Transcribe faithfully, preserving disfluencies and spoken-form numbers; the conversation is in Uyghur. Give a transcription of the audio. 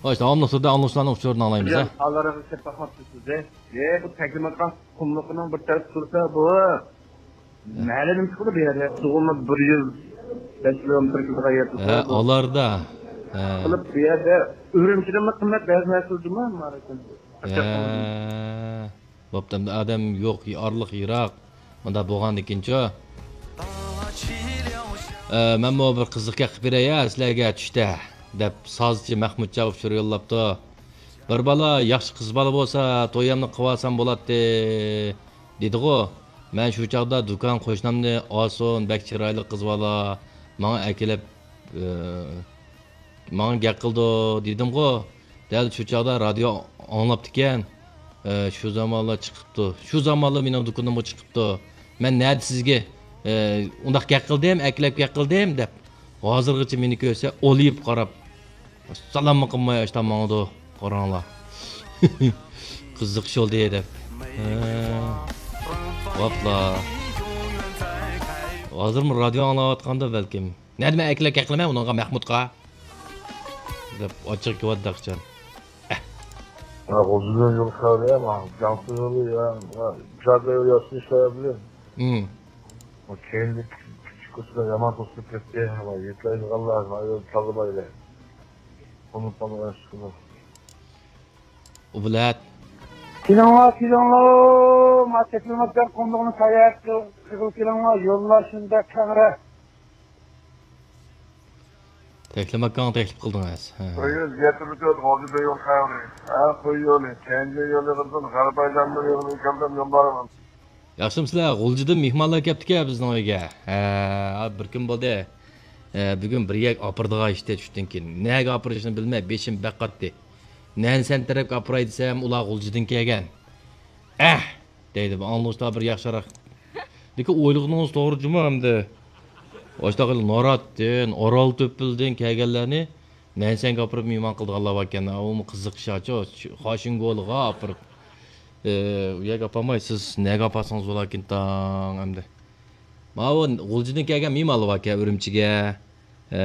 خوش، داۋاملىق تۈردە ئاڭلىغۇچىلارنىڭ ئۇچۇرىنى ئاڭلايمىز، ھە؟ ھازىرغىچە باقماپسىز سىز، ھە؟ ئە، بۇ تەكلىماقان قۇملۇقىنىڭ بىر تەرەپ تۇرسا، بۇ مەھەللىدىن چىقىدۇ بۇ يەردە. سۇغىمۇ بىر يۈز بەش كىلومېتىر كېلىدىغان يەر تۇرسا، ھە، بۇ ئالاردا. ھە. قىلىپ بۇ يەردە ئۈرۈمچىدىنمۇ قىممەت بەزى نەرسىلەر جۇمۇ، ماراكەن. ھە. بوپتۇ، ئەمدى ئادەم يوق، ئارىلىق يىراق. مۇنداق بولغاندىكىنچۇ؟ ئە، مەنمۇ بىر قىزىق گەپ قىلىپ بېرەي يا سىلەرگە چۈشتە، دەپ سازچى مەخمۇتجان ئۇچۇر يوللاپتۇ. بىر بالا ياخشى قىز بالا بولسا، تويۇمنى قىلىۋالسام بولاتتى، دېدىغۇ. مەن شۇ چاغدا دۇكان قوشنامنى ئالسۇن، بەك چىرايلىق قىز بالا، ماڭا ئەكېلىپ، ئە، ماڭا گەپ قىلىدۇ دېدىمغۇ. دەل شۇ چاغدا رادىيو ئاڭلاپتىكەن. ئە، شۇ زامانلا چىقىپتۇ. شۇ زامانلا مېنىڭ دۇكىنىمغا چىقىپتۇ. مەن نەدە سىزگە، ئە، ئۇنداق گەپ قىلدىم، ئەكلەپ گەپ قىلدىم دەپ. ھازىرغىچە مېنى كۆرسە، ئولىيىپ قاراپ، سالاممۇ قىلماي، ئاشتا ماڭىدۇ. قاراڭلار. قىزىق ئىش بولدى دەپ. ھە. ۋاپلا. ھازىرمۇ رادىيو ئاڭلاۋاتقاندۇ بەلكىم. نەدە مەن ئەكلەپ گەپ قىلىمەن ئۇنىڭغا مەخمۇتقا؟ دەپ ئاچچىقى كېلىۋاتىدۇ ئەخچان. ئە. ھە، غۇلجىدىن يول خەۋىرى يا، ماڭا جاڭسىز يولى يا، يا، جادە يولى ياسىنىش سەۋەبلىك. ھىم. كېيىنلىك كىچىك كۇرسلار يامان توسۇلۇپ كەتتى. يېتىلەيدىغانلار، تازىلايلى. ئۇنى تالغان ئىشقىلىپ. ئۇبلەت. كېلىڭلار، كېلىڭلار، ما تەكلىماكان قۇملۇقنى ساياھەت قىلغىلى كېلىڭلار، يوللار شۇنداق كەڭرى. تەكلىماكانغا تەكلىپ قىلدىڭىز. ھە. قوي يول يەتتە مىڭ تۆت غۇلجا يول خەۋىرى. ھە، قوي يولى، كەنجى يولى قىزىل، غەربىي ئايلاندۇر يولى كەلدىم يوللارغا. ياخشىمۇسىلەر؟ غۇلجىدىن مېھمانلار كەپتىكەن بىزنىڭ ئۆيگە. ھە، بىر كۈن بولدى. ھە، بۈگۈن بىر يەرگە ئاپىرىدىغان ئىشتە چۈشتىن كېيىن. نەگە ئاپىرىشنى بىلمەي بېشىم بەك قاتتى. نەنسەن تەرەپكە ئاپىراي دېسەم، ئۇلار غۇلجىدىن كەلگەن. ئەھ! دەيدۇ، ئاڭلىغۇچىلار بىر ياخشىراق. لېكىن ئويلىغىنىڭىز توغرا جۇمۇ ئەمدى. ئاشتاق ناراتتىن، ئارال تۆپىلىدىن كەلگەنلەرنى نەنسەنگە ئاپىرىپ مېھمان قىلىدىغانلار باركەن. ئۇمۇ قىزىق ئىش ئاچۇ. خاشىنگولىغا ئاپىرىپ. ئە، ئۇ يەرگە ئاپارماي، سىز نەگە ئاپارسىڭىز بولاركىن تاڭ ئەمدى. ماۋۇ غۇلجىدىن كەلگەن مېھمانلار باركەن ئۈرۈمچىگە. ئە،